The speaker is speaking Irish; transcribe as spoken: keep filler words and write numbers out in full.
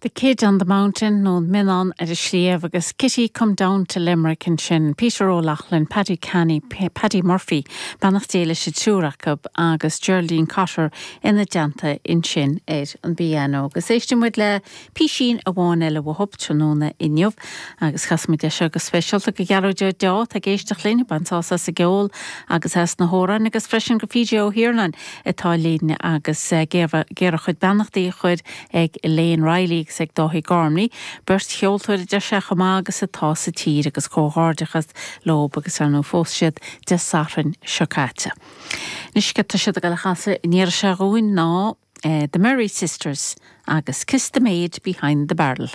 The Kid on the Mountain nó Mionnán ar an sliabh agus Kitty come down to Limerick ansin, Peter O'Loughlin, Paddy Canny, Paddy Murphy, beannacht Dé leis an triúr acu agus Geraldine Cotter ina dteannta ansin ar an bpianó. Agus éistfidh muid le písín amháin eile uathu tráthnóna inniu agus casfaimid é seo go speisialta go Gearóid Ó Deá ag éisteacht linn bain sásamh as an gceol agus as na hamhráin agus freisin go P J Ó hIarnáin atá linn agus géar a chuid beannachtaí a chur ag Elaine Riley agus ag Dáithí Gormley, beirt cheoltóir a deir sé chomh maith agus atá sa tír agus comhghairdeachas leo agus ar ndóigh phós siad Dé Sathairn seo caite. Anois tá siad ag dul a chasadh an iarraidh seo dhúinn ná eh, The Murray Sisters agus Kiss the Maid Behind the Barrel.